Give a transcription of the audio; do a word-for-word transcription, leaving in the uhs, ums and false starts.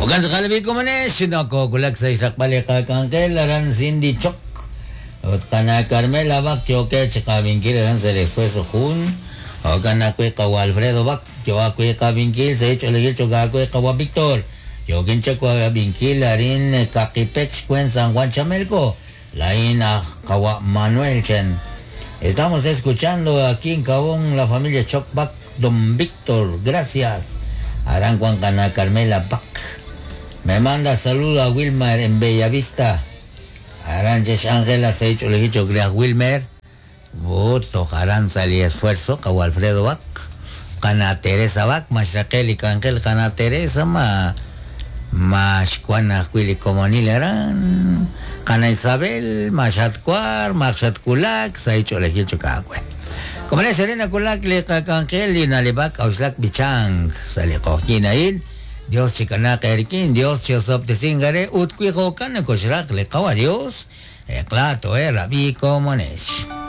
Okan tz'aqal komonex nokowulak sa' xraqb'al li qak'anjel aran Cindy Choc ut qana Carmela Bac yookeb' chi qavinkil aran sa' el esfuerzo jun okan ajwi' qawa Alfredo Bac yo ajwi' qavinkil sa' ich'olejil chok ajwi' qawa Víctor yookin chak wavinkil arin Kakipec xkuen San Juan Chamelco lain aj qawa Manuel Chen. Estamos escuchando aquí en Cabón la familia Choc Bac Don Víctor, gracias. Aran Juan Cana Carmela Bac. Me manda saludo a Wilmer en Bellavista. Aranches Ángela Seicho Legicho Crea Wilmer. Voto Aran sali esfuerzo Kawa Alfredo Bac. Cana Teresa Bac, Mashakel y Cangel Cana Teresa ma Mashkuana Willy Comonil Aran. Cana Isabel, Mashatkuar, Mashatkulak, Seicho Legicho Kagüe. Como le Serena Kulak le Cangel y Nalibak Auslak Bichang sali Kochinail. Dios chikana kerkin, Dios chiosoptesingare, utkuijokan koshrak le kawa Dios, eclato eh, rabí comonesh.